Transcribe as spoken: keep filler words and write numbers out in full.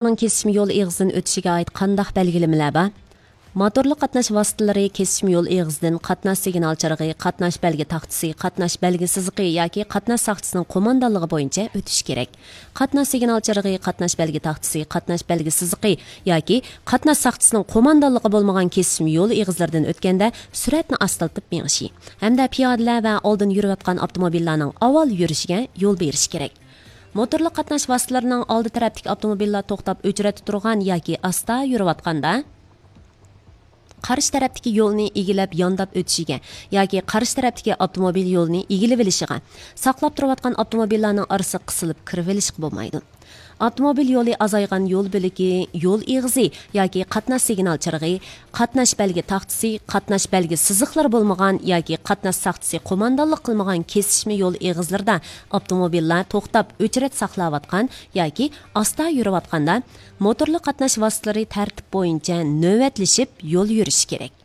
كېسىشمە يول ئېغىزىدىن ئۆتۈشىگە ئائىت قانداق بەلگىلىمىلەر بار؟ موتورلۇق قاتناش ۋاسىتىلىرى كېسىشمە يول ئېغىزىدىن قاتناش سىگنال چىرىغى، قاتناش بەلگە تاختىسى، قاتناش بەلگە سىزىقى ياكى قاتناش ساقچىسىنىڭ قوماندانلىقى بويىچە ئۆتۈشى كېرەك. قاتناش سىگنال چىرىغى، قاتناش بەلگە تاختىسى، قاتناش بەلگە سىزىقى ياكى قاتناش ساقچىسىنىڭ قوماندانلىقى بولمىغان كېسىشمە يول ئېغىزلىرىدىن ئۆتكەندە سۈرئەتنى ئاستىلىتىپ مېڭىشى ھەمدە پىيادىلەر ۋە ئالدىن يۈرۈۋاتقان ئاپتوموبىللارنىڭ ئاۋۋال يۈرۈشىگە يول بېرىشى كېرەك. موتورلۇق قاتناش ۋاسىتىلىرىنىڭ ئالدى تەرەپتىكى ئاپتوموبىللار توختاپ ئۆچرەتتە تۇرغان ياكى ئاستا يۈرۈۋاتقاندا، قارشى تەرەپتىكى يولنى ئىگىلەپ يانداپ ئۆتۈشىگە ياكى قارشى تەرەپتىكى ئاپتوموبىل يولىنى ئىگىلىۋېلىشىغا، ساقلاپ تۇرۇۋاتقان ئاپتوموبىللارنىڭ ئارىسىغا قىسىلىپ كىرىۋېلىشقا بولمايدۇ. ئاپتوموبىل يولى ئازايغان يول بۆلىكى، يول ئېغىزى ياكى قاتناش سىگنال چىرىغى، قاتناش بەلگە تاختىسى، قاتناش بەلگە سىزىقلىرى بولمىغان ياكى قاتناش ساقچىسى قوماندانلىق قىلمىغان كېسىشمە يول ئېغىزلىرىدا ئاپتوموبىللار توختاپ ئۆچرەت ساقلاۋاتقان ياكى ئاستا يۈرۈۋاتقاندا، موتورلۇق قاتناش ۋاسىتىلىرى تەرتىپ بويىچە نۆۋەتلىشىپ يول يۈرۈشى كېرەك.